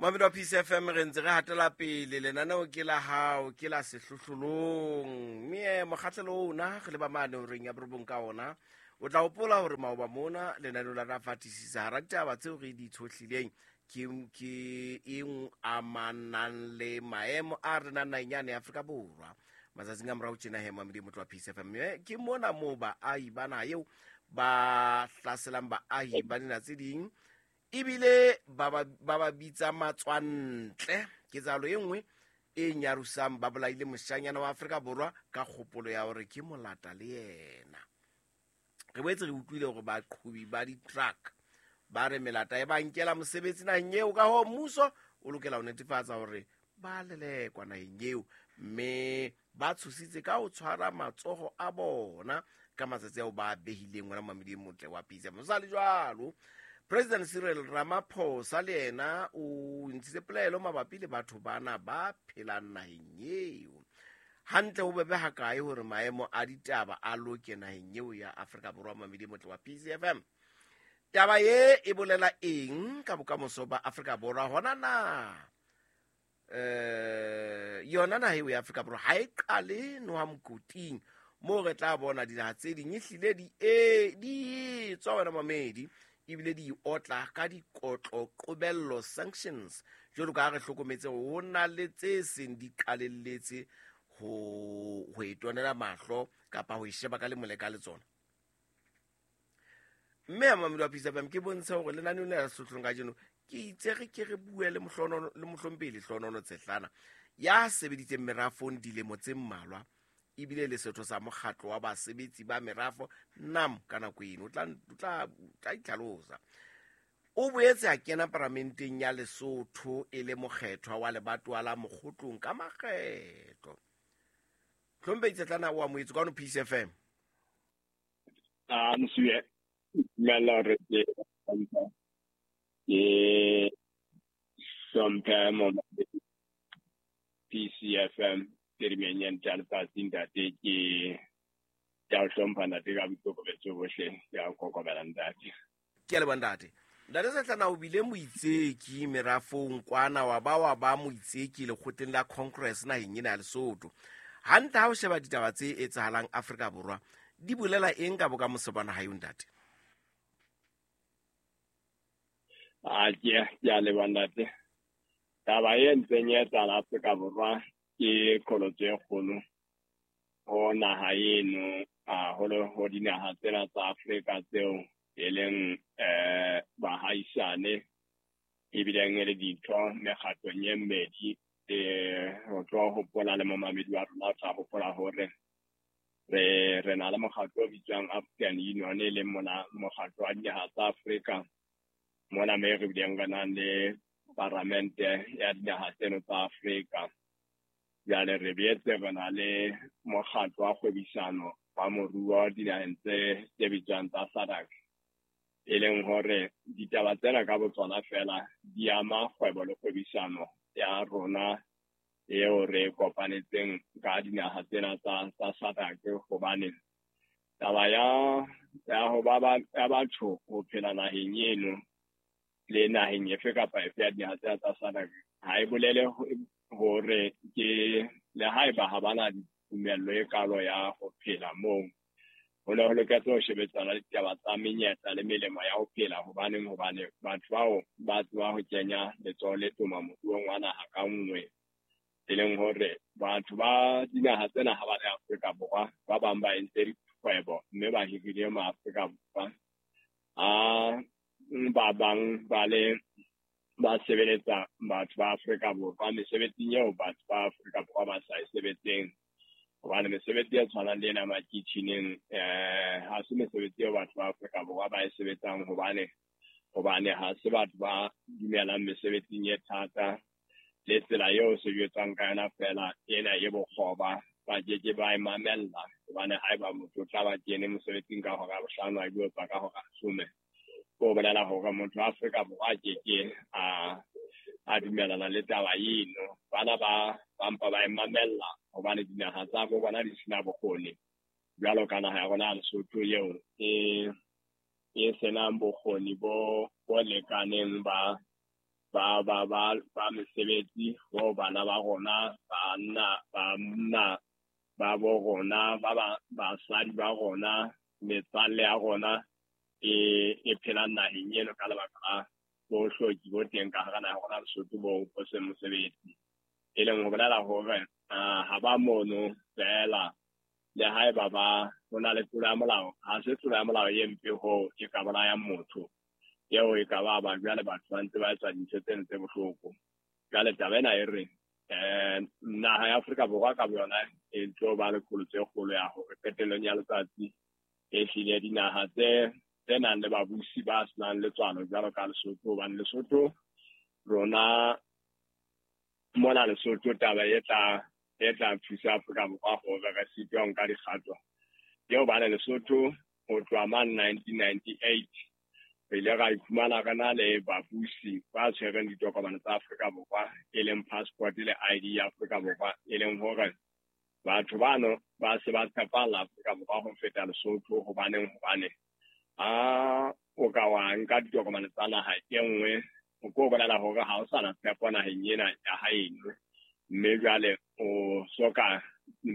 Mohammed wa Peace FM, re ntse re hatela pele. Lenaneo ke la hao, ke la sehlohlolong, mme mokgahlelo ona re leba mane horeng ya 9 ka ona. O tla hopola hore maoba mona lenaneo la ra fatisisa hara ditaba tseo re di tshohlileng ke e amanang le maemo a renang naheng yane ya Afrika Borwa matsatsing a morao tjena. He, Mohammed motho wa Peace FM, mme ke mona moo baahi ba naha eo ba hlaselang baahi ba dinaha tse ding, ebile ba ba bitsa matswantle. Ketsahalo e nngwe e nyarosang, ba bolaile moshanyana wa Afrika Borwa ka kgopolo ya hore ke molata le yena. Re boetse re utlwile hore baqhobi ba di-truck ba re melata e ba nkela mosebetsi naheng eo, ka hoo mmuso o lokela ho netefatsa hore ba lelekwa naheng eo, mme ba tshositse ka ho tshwara matsoho a bona ka matsatsi ao ba behileng. Wena mamedi motle wa Peace, mosali jwalo President Cyril Ramaphosa le yena o ntshitse polelo mabapi le batho bana ba phelang naheng eo. Hantle ho bebe hakae hore maemo a ditaba a loke naheng eo ya Afrika Borwa? Mamedi motle wa Peace FM, taba ye e bolela eng ka bokamoso ba Afrika Borwa? Hona na yona naha eo ya Afrika Borwa ha e qale noha mokoting moo re tla bona dinaha tse ding ehlile di e di tswa, wena mamedi, ebile di otla ka dikotlo qobello, sanctions, jwalo ka ha re hlokometse ho na le tse seng di qalelletse ho e tonela mahlo kapa ho e sheba ka lemole ka le tsona? Mme ya mamedi wa Peace FM, ke bontshe hore lenaneo le la sehlohlolong kajeno ke itse re ke re bue le mohlonono le mohlompehli Hlonono Tshehlana, ya sebeditseng merafong dilemo tse mmalwa, ebile le setho sa mokgatlo wa basebetsi ba merafo NUM ka nako eno. O tla itlhalosa. O boetse a kena paramenteng ya Lesotho e le mokgethwa wa lebatowa la Mokgotlong ka makgetlo. Hlompehli Tshehlana, o amohetswe kwano Peace FM. A mosuwe, dumela hore ke hlomphe momamedi PCFM phirimeng ya ntle ya letsatsi. Ntate, ke a o hlompha, ntate, ka boikokobetso bohle. Ke a kokobela, ntate. Ke a leboha, ntate. Ntate Setlana, o bile moitseki merafong kwana, wa ba moitseki lekgotleng la Congress naheng ena ya Lesotho. Hantle ha o sheba ditaba tse etsahalang Afrika Borwa, di bolela eng ka bokamoso ba naha eo, ntate? A ke a leboha, ntate. Taba e ntseng e etsahala Afrika Borwa ke qholotso e kgolo ho naha eno, haholo ho dinaha tsena tsa Afrika tseo e leng bahaisane, ebileng e le ditho mekgatlong e mmedi. Ho tlo hopola le momamedi wa rona o tla hopola hore re na le mokgatlo o bitswang African Union, e leng mona mokgatlo wa dinaha tsa Afrika mona, me re bileng re nang le paramente ya dinaha tseno tsa Afrika. Jwale re boetse re na le mokgatlo wa kgwebisano wa moruo dinaheng tse bitswang tsa SADC, e leng hore ditaba tsena ka botsona fela di ama kgwebo le kgwebisano ya rona eo re kopanetseng ka dinaha tsena tsa SADC, hobane taba ya ho ba ya batho ho phela naheng eno le naheng efe kapa efe ya dinaha tsena tsa SADC ha e bolele hore ke le haeba ha bana tumello e kalo ya ho phela moo. Ho ne ho loketse ho shebetsana le ditaba tsa menyetla le melemo ya ho phela. Hobaneng? Hobane batho bao ba tseba ho kenya letsoho le toma moruong wa naha ka nngwe, e leng hore batho ba dinaha tsena ha ba le Afrika Borwa, ba bang ba entse dikgwebo mme ba hirile ma Afrika Borwa, a ba bang ba le ba sebeletsa batho ba Afrika Borwa mesebetsing eo batho ba Afrika Borwa ba sa e sebetseng, hobane mesebetsi e tshwanang le ena makitjhineng ha se mesebetsi eo batho ba Afrika Borwa ba e sebetsang, hobane ha se batho ba dumelang mesebetsing e thata le tsela eo se jwetswang ka yona fela ena e bokgoba, ba ke ke ba e mamella, hobane haeba motho o tla ba kene mosebetsing ka hora ya 5, a ilo tswa ka hora ya 10, ko bolela hore motho wa Afrika Borwa a ke ke a dumellana le taba eno. Bana ba mpa ba e mamella hobane dinaha tsa bo bona di sena bokgoni, jwalo ka naha ya rona ya Lesotho eo e senang bokgoni bo lekaneng ba ba ba ba ba mesebetsi ho bana ba rona, banna ba bo rona, ba basadi ba rona, metswalle ya rona e phelang naheng eno ka lebaka la bohloki bo teng ka hara naha ya rona Lesotho bo seng mosebetsi. E leng ho bolela hore ha ba mono feela, le haeba ba ho na le tlolo ya molao, ha se tlolo ya molao e mpe hoo e ka bolayang motho, eo e ka ba ba jwale batho ba ntse ba etsa dintho tseno tse bohloko. Jwale taba ena e re naha ya Afrika Borwa ka boyona e tlo ba le qholotso e kgolo ya hore qetellong ya letsatsi e hlile dinaha tse nang le babusi ba senang letswalo jwalo ka Lesotho, hobane Lesotho rona mona Lesotho taba e tla thusa Afrika Borwa hore re sitwe ho nka dikgato. Ke hobane Lesotho ho tloha mane 1998 re ile ra iphumana re na le babusi ba tshwereng ditokomane tsa Afrika Borwa, e leng passport le ID ya Afrika Borwa, e leng hore batho bano ba se ba tshepalla Afrika Borwa ho feta Lesotho. Hobaneng? Hobane ha o ka wa nka ditokomane tsa naha e nngwe, o ko bolela hore ha o sa na tshepo naheng ena ya haeno, mme jwale o soka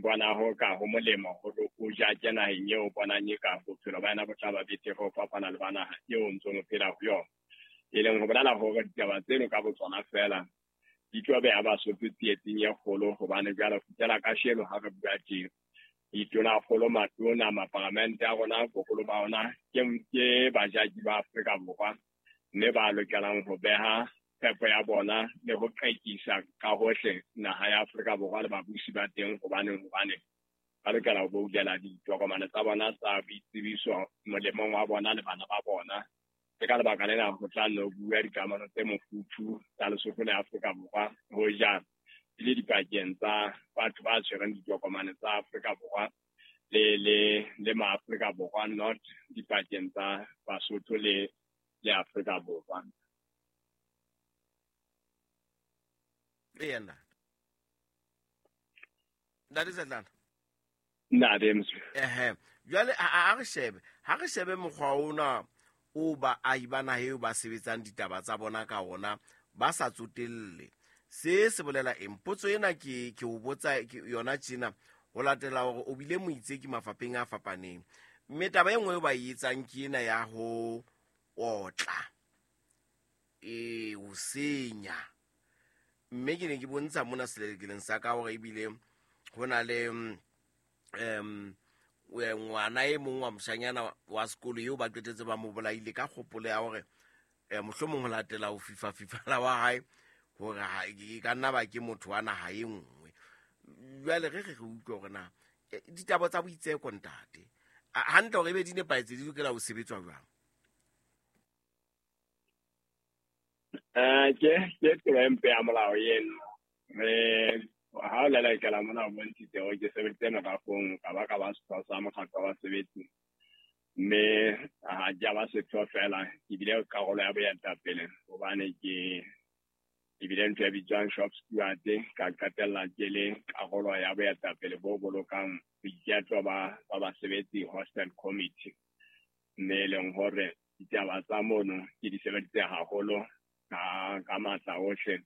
bona ho ka ho molemo hore o jake naheng eo o bonang e ka bophelo ba yona bo tla ba betere ho fapana le ba naha eo o ntsong o phela ho yona. E leng ho bolela hore ditaba tseno ka botsona feela di tlo beha Basotho tsietsing e kgolo, hobane jwale ho fihlela kasheno ha re bua tje, ditonakgolo, matona, maparamente a rona, boholo ba ona ke bajaki ba Afrika Borwa, mme ba lokelang ho beha tshepo ya bona le ho qekisa ka hohle naha ya Afrika Borwa le babusi ba teng. Hobaneng? Hobane ba lokela ho boutela ditokomane tsa bona tsa boitsebiso molemong wa bona le bana ba bona. Ke ka lebaka lena ho tla nno bua dikamano tse mofuthu tsa Lesotho le Afrika Borwa hoja di le dipakeng tsa batho ba tshwereng ditokomane tsa Afrika Borwa le ma-Afrika Borwa, not dipakeng tsa Basotho le Afrika Borwa. Eya, ntate Setlana. Ntate Moswi. Ehe, jwale ha re shebe, ha re shebe mokgwa ona o baahi ba naha eo ba sebetsang ditaba tsa bona ka ona ba sa tsotelle. Se bolela eng? Potso ena ke o botsa yona tjena ho latela hore o bile moitseki mafapheng a fapaneng. Mme taba e nngwe eo ba e etsang ke ena ya ho otla, ho senya. Mme ke ne ke bontsha mona selelekeleng sa ka hore ebile ho na le ngwana e mong wa moshanyana wa sekolo eo ba qetetse ba mo bolaile ka kgopolo ya hore mohlomong ho latela ho fifa-fifala wa hae hore e ka nna ba ke motho wa naha e nngwe. Jwale re utlwe hore na ditaba tsa boitseko ntate hantle hore ebe di nepahetse di lokela ho sebetswa jwang? Ke tlolo e mpe ya molao eno. Re ha o lelekela mona o bontshitse hore ke sebeditse merafong, ka ba setho sa mokgatlo wa basebetsi, mme ha ke a ba setho feela, ke bile karolo ya boetapele hobane ke ebile ntho e bitswang shop steward, ka qetella ke le karolo ya boetapele bo bolokang boiketlo ba basebetsi hostel committee, mme e leng hore ditaba tsa mono ke di sebeditse haholo ka matla ohle,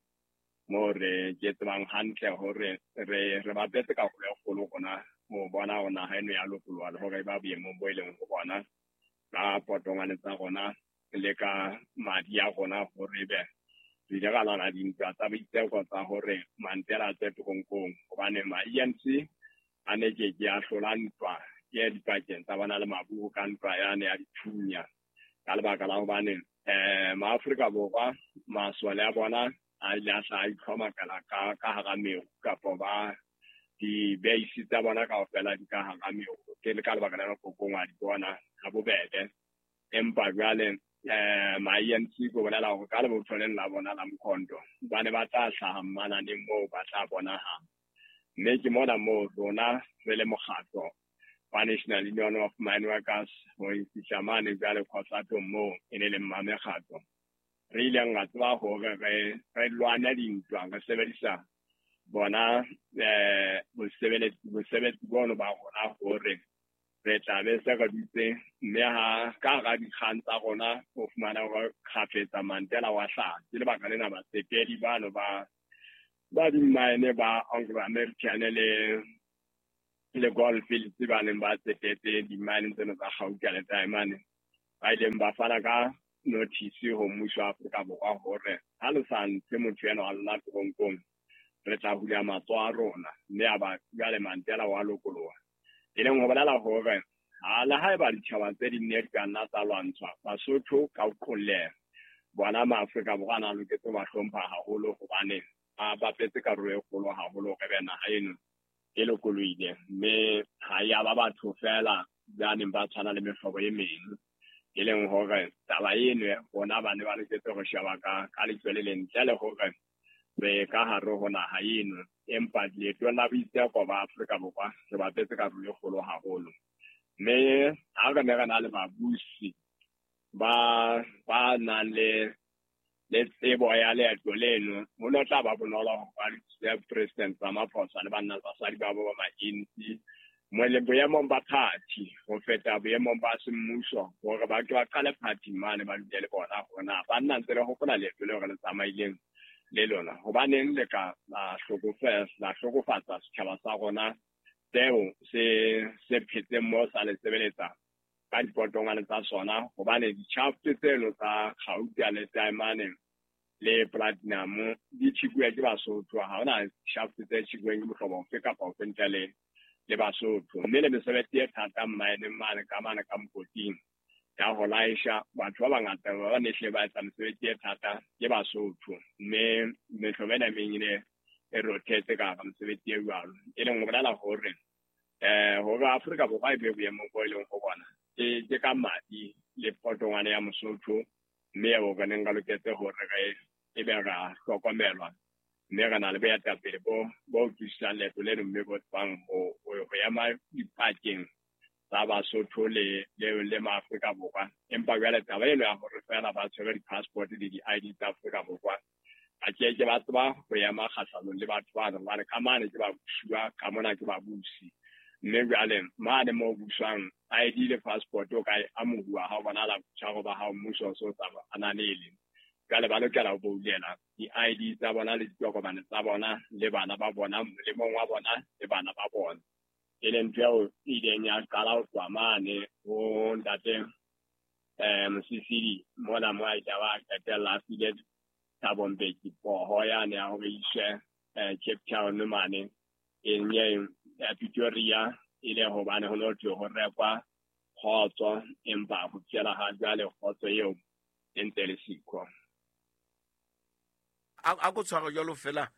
moo re ke tsebang hantle hore re bapetse karolo e kgolo rona ho bona hore naha eno ya lokoloha le hore ba boemong bo e leng ho bona ka potongwane tsa rona le ka madi a rona, hore ebe re ile ra lwana dintwa tsa boitseko tsa hore Mandela a tswe teronkong, hobane ma-ANC a ne ke ke a hlola ntwa e dipakeng tsa bona le maburu ka ntwa yane ya dithunya, ka lebaka la hobane maAfrika Borwa masole a bona a ile a hla a itlhomakela ka hara meru, kapa ba di-base tsa bona kaofela di ka hara meru. Ke le ka lebaka lena kokong wa di bona ha bobebe. Empa jwale ma-ANC ko bolela hore ka lebotho leno la bona la Mkhonto ba ne ba tla hlaha mmananeng moo ba tla bonahala. Mme ke mona moo rona re le mokgatlo wa National Union of Mine Workers ho fihla mane jwale Khosatong moo e ne leng mmamekgatlo, re ileng ra tseba hore re lwane dintwa re sebedisa bona bosebetsi bono ba rona hore Re tla be se re dutse mme ha ka hara dikgang tsa rona o fumana hore kgafetsa Mandela wa hlaha. Ke lebaka lena batsetedi bano ba di-mine ba Anglo American le Gold Fields ba neng ba tsetetse di-mine tseno tsa gauta le diamond ba ileng ba fana ka notice ho mmuso wa Afrika Borwa hore ha le sa ntshe motho ena wa lona toronkong re tla hula matsoho a rona, mme a ba jwale Mandela wa lokoloha. E leng ho bolela hore ha le haeba ditjhaba tse ding ne di ka nna tsa lwantshwa, Basotho ka ho qolleha bona maAfrika Borwa a na loketse ho ba hlompha haholo hobane ba bapetse karolo e kgolo haholo hore be naha eno e lokolohile, mme ha ya ba batho feela ba neng ba tshwana le mehlobo e meng. E leng hore taba eno rona ba ne ba loketse ho sheba ka leihlo le lentle le hore re ka hare ho naha eno, empa leetong la boitseko ba Afrika Borwa re bapetse karolo e kgolo haholo. Mme ha re ne re na le babusi ba nang le tsebo ya leeto leno, ho no tla ba bonolo hore ba thuse President Ramaphosa le banna le basadi ba bo ba ma-ANC boemong ba party ho feta boemong ba semmuso, hore ba ke ba qale party mane ba dule le bona hore na banna ntse le hopola leeto leo re le tsamaileng le lona, hobaneng le ka la hlokofatsa setjhaba sa rona seo se phetseng mo sa le sebeletsa ka dipotongwane tsa sona, hobane di-shaft tseno tsa gauta le diamond le platinum di tjhekuwe ke Basotho. Ha hona shaft tse tjhekuweng ke mohlobo ofe kapa ofe ntle le Basotho. Mme le mesebetsi e thata mmaeneng mane ka mane ka mokoting ya ho laesha batho ba bangata ba ne hle ba etsa mesebetsi e thata ke Basotho, mme mehlobo ena e meng e e rothetse ka hara mesebetsi e jwalo. E leng ho bolela hore hore Afrika Borwa e be boemong bo e leng ho bona ke ka madi le potongwane ya Mosotho, mme eo re neng re loketse hore re ebe ra hlokomelwa, mme re na le boetapele bo utlwisisang leeto leno, mme bo tsebang ho ema dipakeng tsa Basotho le maAfrika Borwa. Empa jwale taba eno ya hore feela ba tshwere di-passport le di-ID tsa Afrika Borwa, ba ke ba tseba ho ema kgahlanong le batho bano, hobane ka mane ke ba busuwa, ka mona ke ba busi. Mme jwale mane moo buswang ID le passport o ka e amohuwa ha o bonahala botshwaro ba hao mmuso o so sa ananele. Jwale ba lokela ho boulela di-ID tsa bona le ditokomane tsa bona le bana ba bona, molemong wa bona le bana ba bona. E leng ntho eo e ileng ya qala ho tloha mane ho ntate Mosisili mona mo a ile ba qetella a file Thabo Mbeki poho yane ya hore iswe Cape Town mane e nye Pretoria, e le hobane ho no thwe ho rekwa kgotso, empa ho fihlela ha jwale kgotso eo e ntse le siko. A ko tshware jwalo fela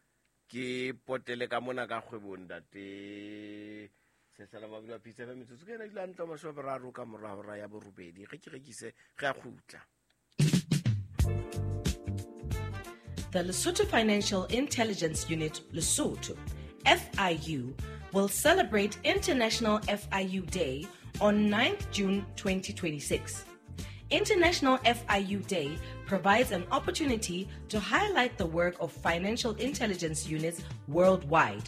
ke potele ka mona ka kgwebong ntate Sehlela Mabilo a Pitse FM, metsotso ke ena dula ntlo 30 ka mora hora ya borobedi. Ge ke rekise re a kgutla. The Lesotho Financial Intelligence Unit, Lesotho, FIU, will celebrate International FIU Day on 9th June 2026. International FIU Day provides an opportunity to highlight the work of financial intelligence units worldwide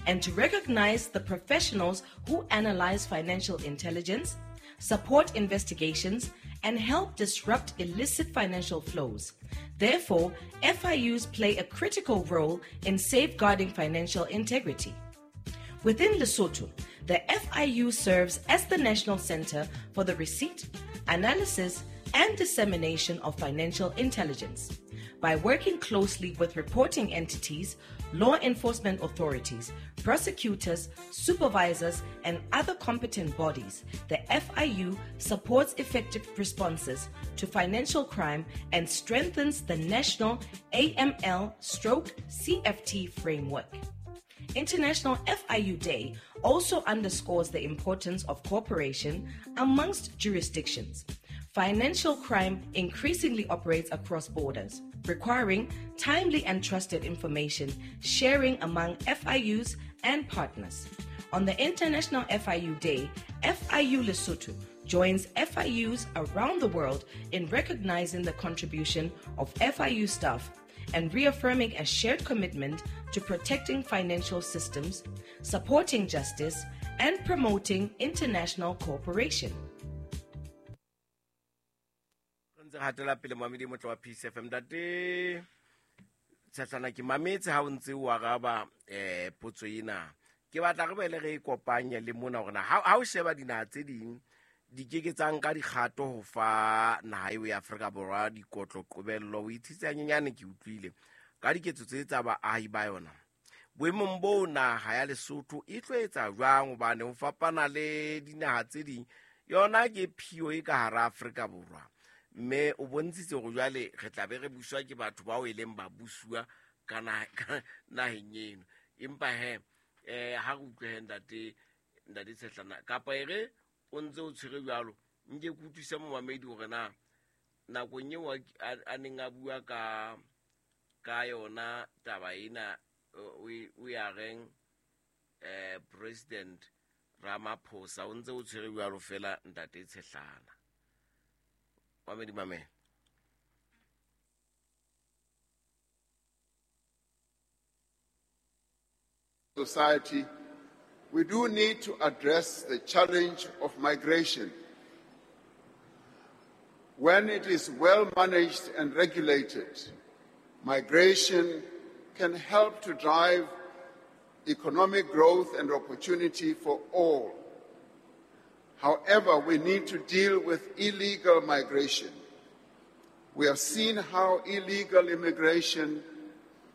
and to recognize the professionals who analyze financial intelligence, support investigations, and help disrupt illicit financial flows. Therefore, FIUs play a critical role in safeguarding financial integrity. Within Lesotho, the FIU serves as the national center for the receipt, analysis, and dissemination of financial intelligence. By working closely with reporting entities, law enforcement authorities, prosecutors, supervisors, and other competent bodies, the FIU supports effective responses to financial crime and strengthens the national AML/CFT framework. International FIU Day also underscores the importance of cooperation amongst jurisdictions. Financial crime increasingly operates across borders, requiring timely and trusted information sharing among FIUs and partners. On the International FIU Day, FIU Lesotho joins FIUs around the world in recognizing the contribution of FIU staff and reaffirming a shared commitment to protecting financial systems, supporting justice, and promoting international cooperation. Re ntse re hatela pele moamedi motle wa Peace FM. Ntate Tshehlana, ke mametse ha o ntse o araba potso ena. Ke batla re boele re e kopanye le mona hore na ha o sheba dinaha tse ding di ke ke tsa nka dikgato ho fa naha eo ya Afrika Borwa dikotlo qobello. O ithitse hanyenyane, ke utlwile ka diketso tse tsa baahi ba yona. Boemong bo naha ya Lesotho e tlo etsa jwang, hobane ho fapana le dinaha tse ding yona ke phio e ka hara Afrika Borwa, mme o bontshitse hore jwale re tla be re buswa ke batho bao e leng ba busuwa ka naheng eno. Empa he ha re utlwe he ntate Tshehlana, kapa e re o ntse o tshwere jwalo, nke ke utlwise momamedi hore na nakong eo a neng a bua ka yona taba ena, o ya reng President Ramaphosa, o ntse o tshwere jwalo fela ntate Tshehlana. Mamedi mamela. Society, we do need to address the challenge of migration. When it is well managed and regulated, migration can help to drive economic growth and opportunity for all. However, we need to deal with illegal migration. We have seen how illegal immigration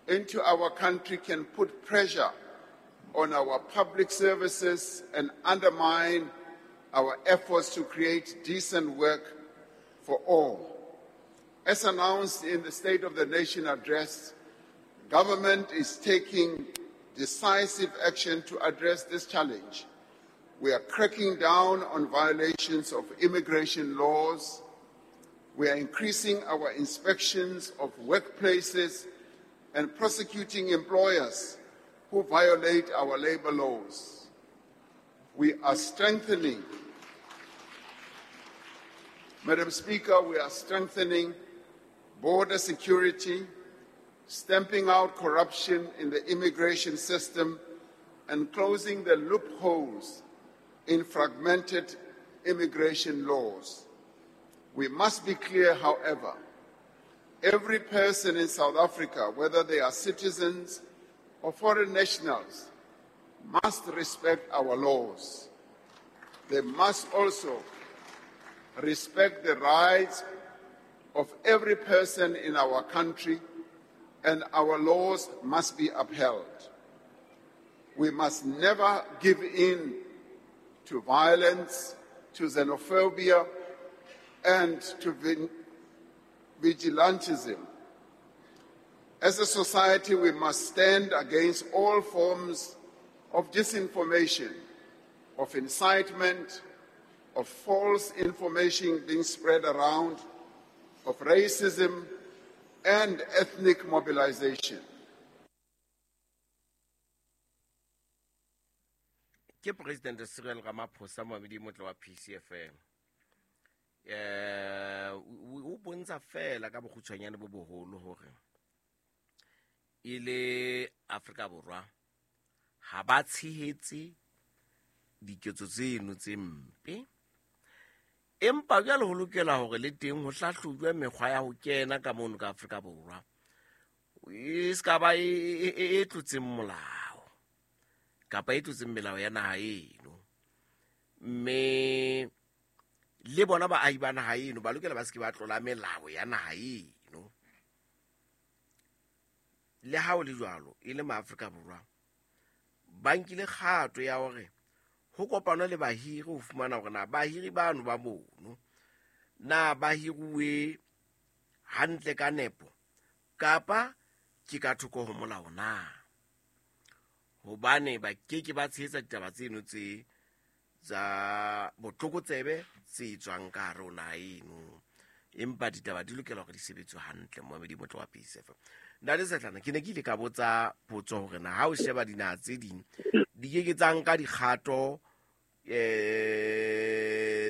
into our country can put pressure on our public services and undermine our efforts to create decent work for all. As announced in the State of the Nation address, government is taking decisive action to address this challenge. We are cracking down on violations of immigration laws. We are increasing our inspections of workplaces and prosecuting employers who violate our labor laws. We are strengthening, Madam Speaker, we are strengthening border security, stamping out corruption in the immigration system, and closing the loopholes in fragmented immigration laws. We must be clear, however, every person in South Africa, whether they are citizens or foreign nationals, must respect our laws. They must also respect the rights of every person in our country, and our laws must be upheld. We must never give in to violence, to xenophobia, and to vigilantism. As a society, we must stand against all forms of disinformation, of incitement, of false information being spread around, of racism, and ethnic mobilization. Ke President Cyril Ramaphosa, moamedi motle wa PCFM. O bontsha fela ka bokgutshwanyane bo boholo hore e le Afrika Borwa ha ba tshehetse diketso tseno tse mpe, empa jwale ho lokela hore le teng ho hlahlojwe mekgwa ya ho kena ka mono ka Afrika Borwa e se ka ba e tlotseng molao kapa e tlotseng melao ya naha eno, mme le bona baahi ba naha eno ba lokela ba se ke ba tlola melao ya naha eno. Le ha ho le jwalo, e le maAfrika Borwa ba nkile kgato ya hore ho kopanwe le bahiri ho fumana hore na bahiri bano ba mono na ba hiruwe hantle ka nepo kapa ke ka thoko ho molao na, hobane ba ke ke ba tshehetsa ditaba tseno tse tsa botlokotsebe tse tswang ka hare ho naha eno, empa ditaba di lokela hore di sebetswe hantle. Moamedi motle wa PSF, Ntate Tshehlana, ke ne ke ile ka botsa potso hore na ha o sheba dinaha tse ding di ke ke tsa nka dikgato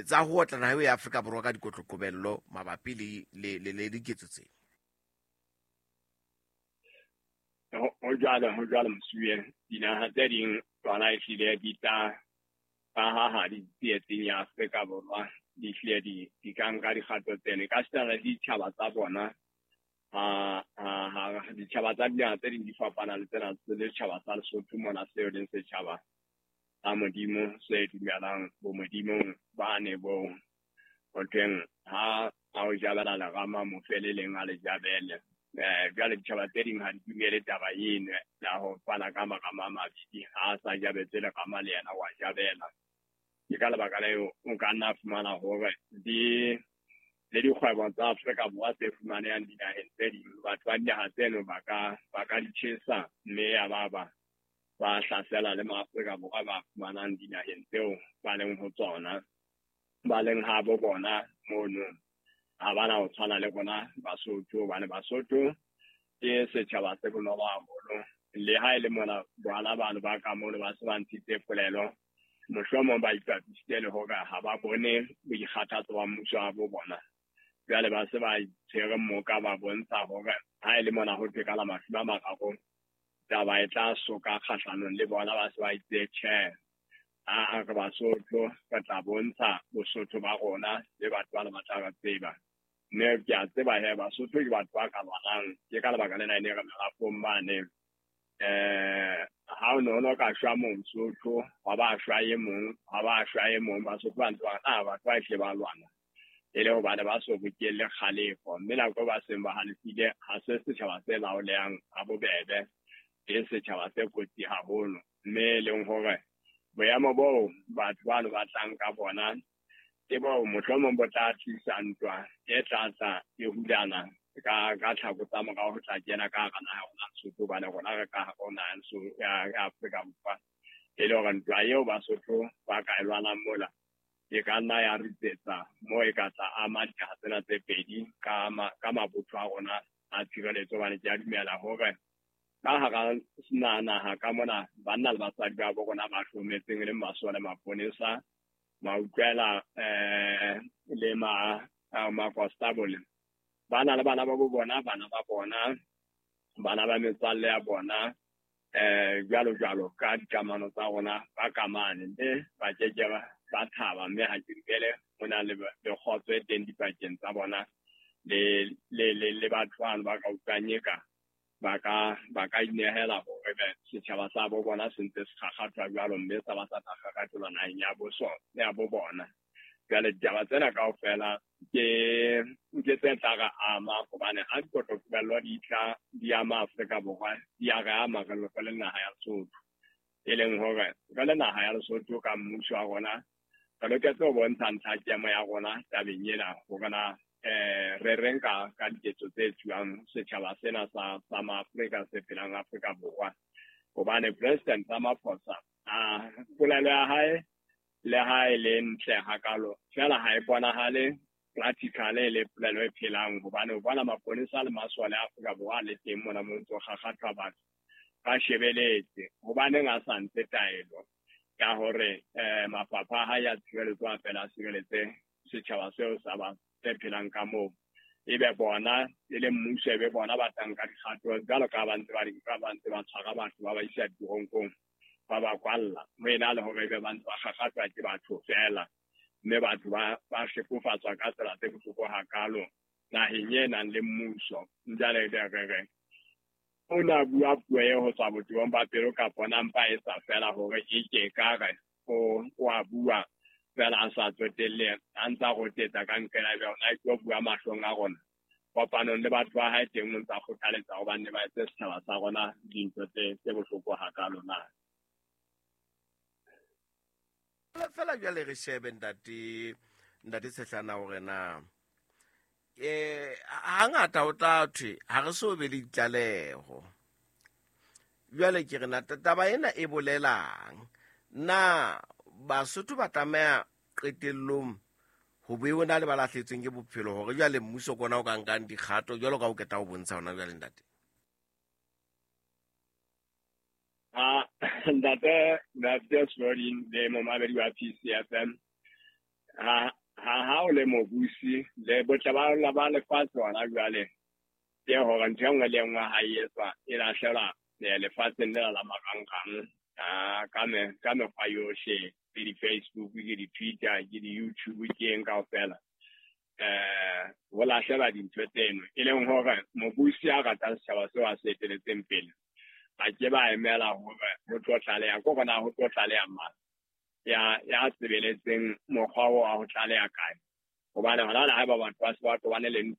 tsa ho otla naha ya Afrika Borwa ka dikotloqobello mabapi le diketso tse. Ho jwalo Mosuwe, dinaha tse ding tsona ehlile di tla Ka ha di tsietsing ya Afrika Borwa di hlile di ka nka dikgato tseno ka sitana le ditjhaba tsa bona. Ha ditjhaba tsa dinaha tse ding di fapana le tsena le setjhaba sa Lesotho mona seo leng setjhaba sa Modimo se dumelang bo Modimong bane bo ho thweng ha a o jabela lerama mo fe le leng a le jabele. Jwale ditjhaba tse ding ha di dumele taba eno ya ho fana ka marama a mabedi, ha a sa jabetse lerama le yena wa jabela. Ke ka lebaka leo o ka nna fumana hore di le dikgwebo tsa Afrika Borwa tse fumanehang dinaheng tse ding, batho ba dinaha tseno ba ka di tjhesa mme ya ba ba hlasela le maAfrika Borwa ba fumanang dinaheng tseo ba leng ho tsona, ba leng habo bona mono. Ha bana ho tshwana le rona Basotho, hobane Basotho ke setjhaba se bonolo haholo. Le ha e le mona bana bano ba ka mono ba se ba ntshitse polelo, mohlomong ba ipapisitse le hore ha ba bone boikgathatso ba mmuso wa bo bona. Jwale ba se ba itshwere moka ba bontsha hore ha e le mona ho thwe ka la 30 taba e tla soka kgahlanong le bona, ba se ba itse tjhe, a re Basotho re tla bontsha Bosotho ba rona le batho ba le ba tla re tseba. Mme ke a tseba he Basotho ke batho ba ka lwanang, ke ka lebaka lena e ne re merafong mane. Ha o no ka shwa Mosotho, ha ba shwa e mong, ha ba shwa e mong, Basotho ba ntse ba re batho ba hle ba lwana. E le hobane ba so bokelle kgalefo, mme nako ba seng ba halefile ha se setjhaba se laolehang ha bobebe, ke setjhaba se kotsi haholo. Mme e leng hore boemo boo batho bano ba tlang ka bona ke boo mohlomong bo tla tlisa ntwa e tla tla e hulana ka tlhako tsa morao ho tla kena ka hara naha ya rona Lesotho, hobane rona re ka hare ho naha ya Afrika Borwa. E le hore ntwa eo Basotho ba ka e lwanang mola e ka nna ya ritsetsa moo e ka tla ama dinaha tsena tse pedi ka mabotho a rona a tshireletso, hobane ke a dumela hore ka hara naha ka mona banna le basadi ba bo rona ba hlometseng e leng masole, maponesa, mautlwela le makonstabole, ba na le bana ba bo bona, bana ba bona, bana ba metswalle ya bona, jwalo jwalo ka dikamano tsa rona ba kamane, mme ba keke ba thaba. Mme ha ke dumele ho na le kgotso e teng dipakeng tsa bona le batho bano ba ka utlwang eka ba ka inehela hore setjhaba sa bo bona se ntse se kgakgathwa jwalo, mme sa ba sa tla kgakgathelwa naheng ya bo bona. Jwale ditaba tsena kaofela ke tse tla re ama, hobane ha dikotloqobello di tla di ama Afrika Borwa, di a re ama re le naha ya Lesotho. E leng hore re le naha ya Lesotho ka mmuso wa rona re loketse ho bontsha ntlhakemo ya rona tabeng ena, hore na re reng ka diketso tse etsuwang setjhaba sena sa maAfrika se phelang Afrika Borwa. Hobane President Ramaphosa polelo ya hae le ha e le ntle hakalo, fela ha e bonahale practically le polelo e phelang, hobane o bona maponesa le masole a Afrika Borwa le teng mona mo ntso kgakgathwa batho ba shebeletse. Hobaneng a sa ntshe taelo ya hore mafapha a hae a tshireletso a fela a sireletse setjhaba seo sa ba tse phelang ka moo, ebe bona e le mmuso, ebe bona ba tlang ka dikgato jwalo ka ba ntse ba di nka, ba ntse ba tshwara batho ba ba isa diteronkong, ba ba kwalla, ho ena le hore ebe ba ntse ba kgakgathwa ke batho feela, mme batho ba hlekofatswa ka tsela tse bohloko hakalo naheng e nang le mmuso. Jwale re re o na bua puo e ho tswa botebong ba pelo, kapa na mpa e sa fela hore e ke ka re o a bua fela a sa tsotelle, a ntsa rotetsa ka nkela ebe ona ke o bua mahlong a rona kopanong le batho ba hae teng, o ntsa kgothaletsa hobane ba etse setjhaba sa rona dintho tse bohloko hakalo na. Fela jwale re shebe ntate Tshehlana hore na hangata ho tla thwe ha re so be le ditlaleho. Jwale ke re na taba ena e bolelang? Na Basotho ba tlameha qetellong ho be ho na le ba lahletsweng ke bophelo hore jwale mmuso kona o ka nkang dikgato jwalo ka o keta ho bontsha hona jwale ntate? Ntate Slodin le momamedi wa PCFM, ha o le mobusi le botle ba lefatshe hona jwale ke hore ntho e nngwe le e nngwe ha e etswa e lahlela lefatsheng lena la marangrang ka mekgwa yohle. Ke di-Facebook, ke di-Twitter, ke di-YouTube, ke eng kaofela. Ho lahlela dintho tseno, e leng hore mobusi a ratang setjhaba seo a se eteletseng pele a ke ba emela hore ho tlo tlaleha ko rona, ho tlo tlaleha mang ya sebeletseng mokgwa oo wa ho tlaleha kae, hobane hona le haeba batho ba se ba tobane le ntwa.